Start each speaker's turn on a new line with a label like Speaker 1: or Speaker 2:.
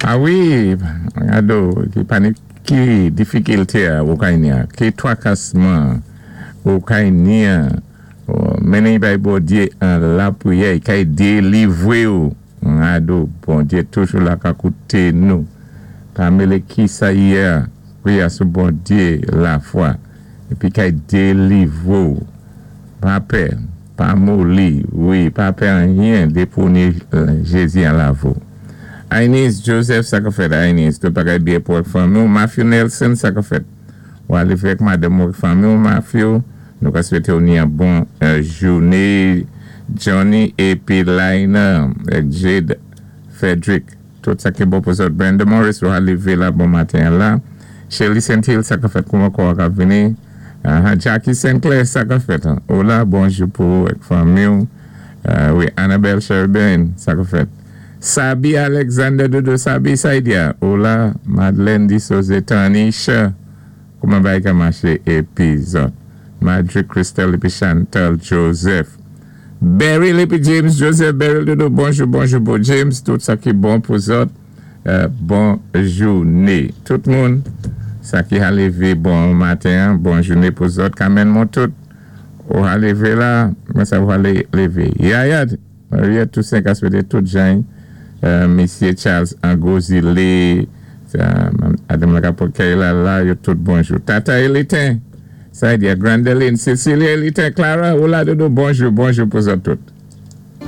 Speaker 1: A wi, ado, ki panik, ki difikilté ou kay ni-a, ki twakasman ou kay ni-a, mennen-y bay Bondyé an lapriyè, i kay délivwé ou. Ado, Bondyé toujou la ka kouté nou. Pa mélé ki sa yé-a, kwiyé sou Bondyé lafwa, épi kay délivwé ou. Pa pè, pa moli, wi, pa pè anyen dépi ou ni Jézi an lavi ou. Ainis Joseph, sa ka fèt, Ainis? Tout bagay byen pou ak fanmi ou. Matthew Nelson, sa ka fèt? Ou ale ak madanm ou ak fanmi ou, Matthew? Nou ka swété ou ni an bon jouné. Johnny épi Laina, ak Jade Frederick. Tout sa ki bon pou zòt. Brenda Morris, ou lévé la bon maten la. Shelly St. Hill, sa ka fèt? Kouman kò ka vini? Jackie Sinclair, sa ka fèt? Hola, bonjou pou ou ak fanmi ou. Wi, Annabelle Sherburne, sa ka fèt? Sabi Alexander Dodo Sabi Saidia. Hola, Madeleine Disose Tanisha. Kouman bagay ka maché épi zòt? Madrick Christelle épi Chantal Joseph. Beryl épi James Joseph. Beryl Dodo, bonjou, bonjou pou James. Tout sa ki bon pou zòt. Bon jouné. Tout moun, sa ki a lévé bon maten, bon jouné pou zòt. Kamen moun tout. Ou a lévé la, mwen sa ou a lévé. Yaya, Maria Toussaint ka swété tout jan, Misyé Charles Angozile, Adam Lacapokay la la, yo tout bonjou. Tata Elitin, sa di Grandeline, Cecilia Elitin, Clara, ou la Dodo, bonjou, bonjou pou zòt tout.